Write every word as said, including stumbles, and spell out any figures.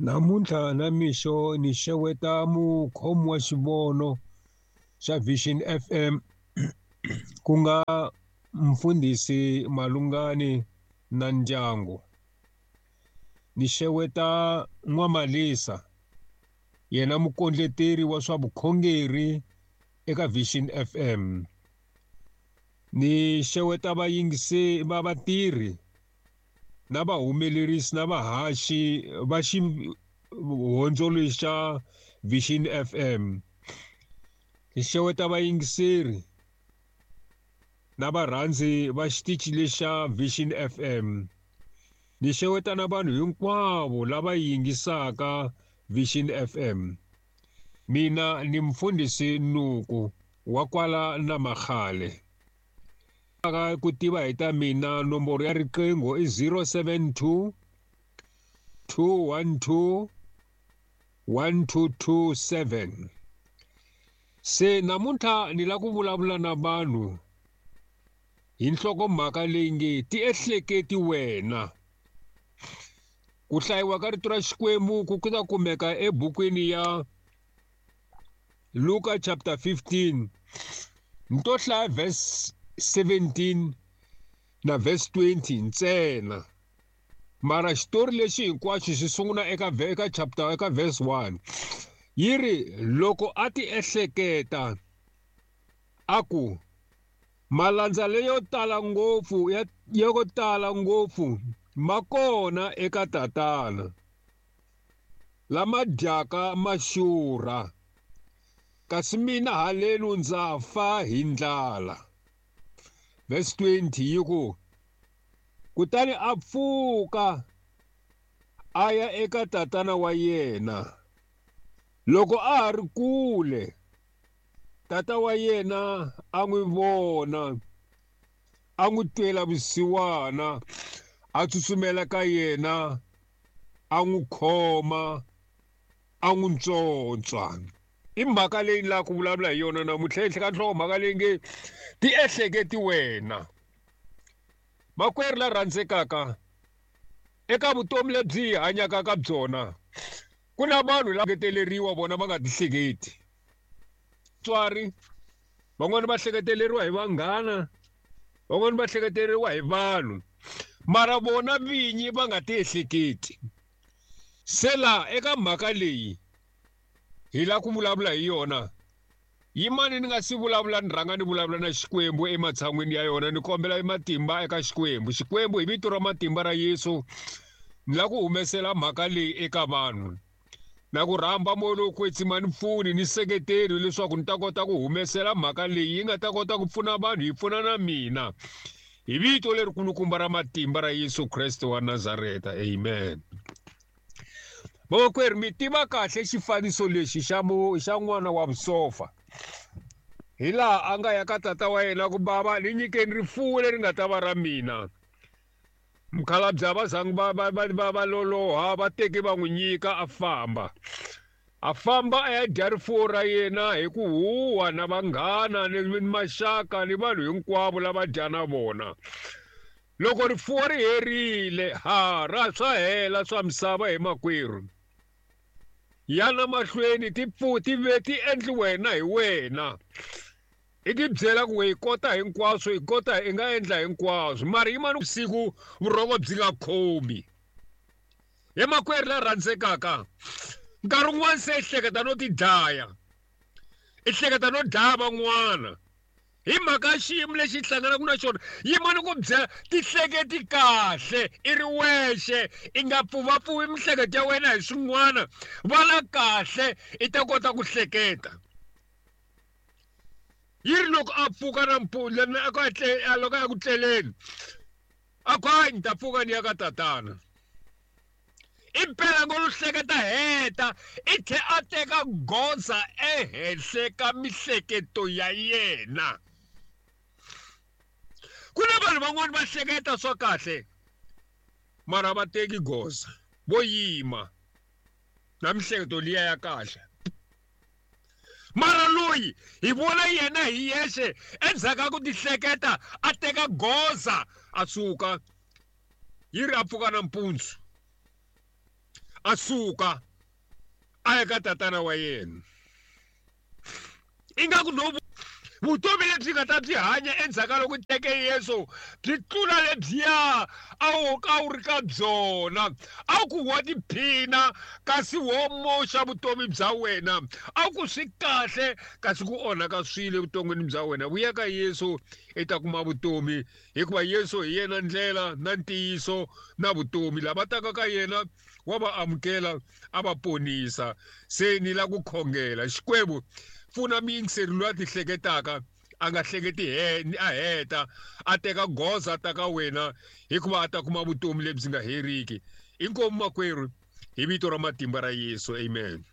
Namuntlha na mixo ni xeweta mukhomi wa xivono xa Vision F M ku nga mfundhisi Malungani na ndyangu. Ni xeweta N'wamalisa, yena mukondleteri wa swa vukhongeri eka Vision F M. Ni xeweta vayingisi va vatirhi na vahumelerisi na vahaxi va xihondzo xa Vision F M. Ni xeweta vayingiseri na varhandzi va xitichi lexa Vision F M. Ni xeweta na vanhu hinkwavo lava yingisaka Vision F M. Mina ni mfundhisi Nuku wa kwala na Makhale. Ku tiva hi ta mina nomboro ya riqingho i zero seven two, two one two, one two two seven. Se namuntlha ni la ku vulavula na vanhu hi nhlokomhaka leyi nge tiehleketi wena. Ku hlayiwa ka rito ra Xikwembu ku ta kumeka ebukwini ya Luka chapter fifteen, ni to hlaya verse seventeen na verse twenty ntsena. Mara xitori lexi hinkwaxo xi sungula eka eka chapter eka verse one. Yi ri loko a ti ehleketa a ku malandza leyo tala ngopfu ya yo tala ngopfu ma kona eka tatana lama dyaka ma xurha, kasi mina halenu ndza fa hi ndlala. Verse twenty yi ku kutani a pfuka a ya eka tatana wa yena. Loko a ha ri kule, tata wa yena a n'wi vona, a n'wi twela vusiwana, a tsutsumela ka yena, a n'wi khoma, a n'wi ntswontswa. I mhaka leyi ni lava ku vulavula hi yona namuntlha ehenhla ka nhlokomhaka leyi nge tiehleketi wena. Makwerhu la rhandzekaka, eka vutomi lebyi hi hanyaka ka byona ku na vanhu lava hleketeleriwa vona va nga tihleketi. Vatswari van'wani va hleketeleriwa hi vanghana, van'wani va hleketeleriwa hi vanhu, mara vona vinyi va nga tiehleketi. Se laha eka mhaka leyi hi lava ku vulavula hi yona, yimani ni nga si vulavula ni rhanga ni vulavula na Xikwembu ematshan'wini ya yona, ni kombela matimba eka Xikwembu. Xikwembu hi vito ra matimba ra Yesu ni lava ku humesela mhaka leyi eka vanhu, na ku rhamba moya lowo kwetsima ni pfuni ni seketeri leswaku ni ta kota ku humesela mhaka leyi yi nga ta kota ku pfuna vanhu, yi pfuna na mina, hi vito lerikulukumba ra matimba ra Yesu Kreste wa Nazareta, amen. Vamakwerhu, mi tiva kahle xifaniso lexi xa xa n'wana wa vusofa, hi laha a nga ya ka tata wa yena ku bava ni nyikeni rifuwo leri nga ta va ra mina. Mukhalabye va zangi va va va va loloha, va teke va n'wi nyika a famba. A famba a ya dya rifuwo ra yena hi ku huwa na vanghana ni maxaka ni vanhu hinkwavo lava dya na vona. Loko rifuwo ri herile, ha ra swa hela swa misava hi makwerhu. Yana mahlweni ti ti ve ti endli wena hi wena. I ti byela ku hi kota hinkwaswo, hi kota hi nga endla hinkwaswo, mara yimani vusiku vurhongo byi nga khomi. Hi makwerhu la rhandzekaka, nkarhi wun'wani se i hleketa no ti dlaya, i hleketa no dlaya van'wana hi mhaka ya xiyimo lexi hlanganaka na xona. Yimani ku byela, tihleketi kahle i ri wexe, i nga pfuvapfuvi mihleketo ya wena hi swin'wana, vala kahle i ta kota ku hleketa. Yi ri loko a pfuka nampundzu loko a ya ku tleleni, a ku hayi ni ta pfuka ni ya ka tatana. Impela ngo lo hleketa heta, i tlhe a teka goza ehenhla ka mihleketo ya yena. Ku na vanhu van'wani va hleketa swa kahle, mara va teki goza, vo yima na mihleketo liya ya kahle. Mara loyi hi vona yena hi yexe endzhaku ka ku tihleketa a teka goza a suka, yi ri a pfuka nampundzu. A suka a ya ka tatana wa yena. Ingaku no vutomi lebyi nga ta byi hanya endzhaku ka loko teke Yesu byi tlula lebyiya a wu ka wu ri ka byona. A ku wa tiphina kasi wo moxa vutomi bya wena, a ku swi kahle kasi ku onhaka swilo evuton'wini bya wena. Vuya ka Yesu i ta kuma vutomi, hikuva Yesu hi yena ndlela na ntiyiso na vutomi. Lava taka ka yena wa va amukela a va ponisa. Se ni la ku khongela Xikwembu, pfuna muyingiseri loyi a ti hleketaka a nga hleketi a heta a teka goza a ta ka wena, hikuva a ta kuma vutomi lebyi nga heriki. Inkomu makwerhu, hi vito ra matimba ra Yesu, amen.